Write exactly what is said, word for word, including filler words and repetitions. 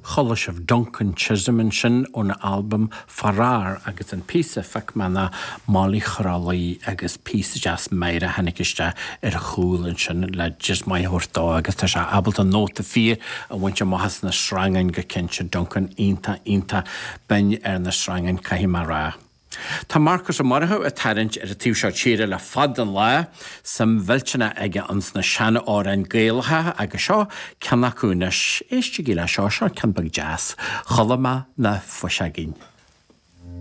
Chuala sibh Duncan Chisholm ansin óna albam Faraor agus an píosa a phioc mé ná Molly Chrollaí agus píosa deas meidhreach a tháinig isteach ar chúl ansin le jizz maith a thabhairt dó agus tá sé ábalta nóta fíor a bhaint amach as na sreangáin go cinnte Duncan iontach iontach binn ar na sreangáin caithfidh mé a rá. Tá Marcus Ó Murchú ag tarraingt ar an taobh seo tíre le fada an lá, suim mhillteanach aige ins na seanamhráin Gaelacha agus seo ceann acu anois. Éistigí le seo, seo ceann beag deas. Chuala mé na fuiseogaí.